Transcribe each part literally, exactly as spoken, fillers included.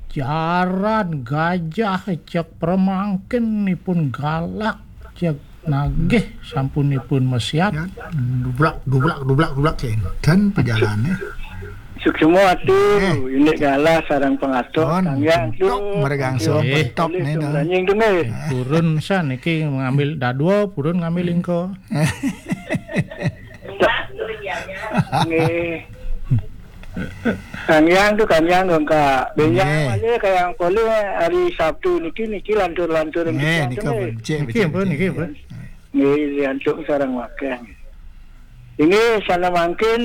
Jaran gajah cek permangkin nipun galak, cek nagih sampunipun mesiat. Ya, dublak, dublak, dublak, dublak, ya. Dan pejalannya. Suksma atu, Eh. Indik galah sarang pangatuk, Pun, tanggiang tu. Betok, meregang Tanggiang Eh. Betok, Alih ni, tu, nah. Nanying tu, nggih. Purun san, niki ngambil dadua, purun ngambil ingko. Nggih. Tanggiang tu, tanggiang tu, Kak. Benjang Nggih. Malih, kayang polih hari Sabtu niki, niki lantur-lantur Nggih, niki, nika nggih. Becik, Niki becik, apa, becik. Niki apa? Nggih, antuk sarang wakil. Ini sana mangkin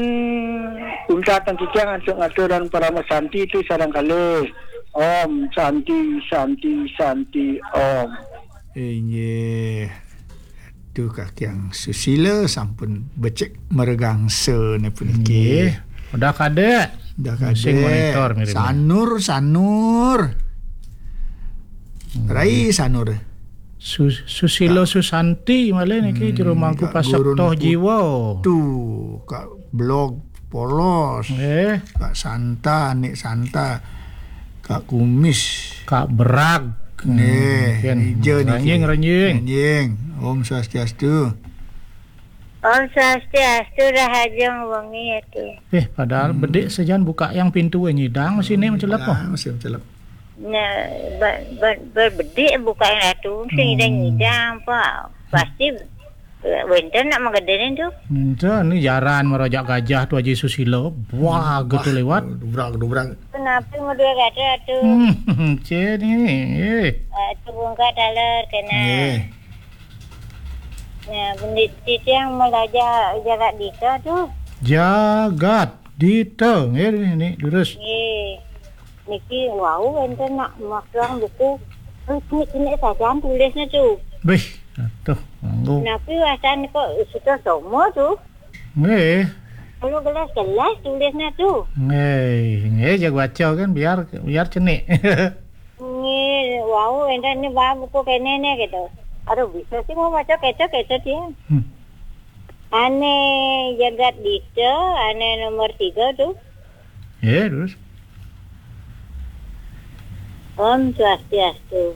untat titiang antuk ngaturan parama santi tu sarang kalih. Om Santi, Santi, Santi, Om. Inggih. Tu kakiang susila sampun becik meregangsa ni puniki. Nggih. Udah kadek. Udah Sing kadek. Monitor mirip. Sanur, Sanur. Hmm. Rai Sanur. Sus-, Susila Susanti malih niki Hmm, jero mangku Kak Gurun pasektoh Putu, jiwa. Kak Blog Polos. Eh. Kak Santa, Nik Santa. Kak Kumis. Kak Berag. Nggih, Hmm, Ija niki. Ranjing, ranjing. Ranjing. Om Swastiastu. Om Swastiastu, rahajeng wengi atu. Eh, padahal Hmm. bedik sajan buka yang pintu nyidang sini mencelep. Ah, masih mencelep. Nah, ba-, ba-, berbedik buka yang atu, mesti Hmm. nyidang-nyidang apa. Pasti, eh, wenten nak mengedene tu. Enten ni jaran merojak gajah tu Haji Susilo. Wah, gitu lewat. Dubrak, dubrak. Kenapa model kata tu? Hmm, cek ni. Eh. Ah, tu bungka taler kena. Eh. Nah, bendit titiang melajar jagat dita tu. Jagat dita, nggih, ni, durus. Nggih. Niki wau enten nak masuang buku. Eh, cinik-cinik sajan tulisnya tu. Bih, atuh, nganggo. Napi wasan kok sudah somo tu? Nggih. Kalau gelas-gelas tulisnya tu. Nggih, nggih, jaga baca kan biar, biar cenik. Nggih, wau enten ni ba buku kene ne gitu. Aduh, bisa sih mau baca kece-kece dia. Hmm. Ane jagat dita, ane nomor tiga tu. Ya, terus? Om Swastiastu.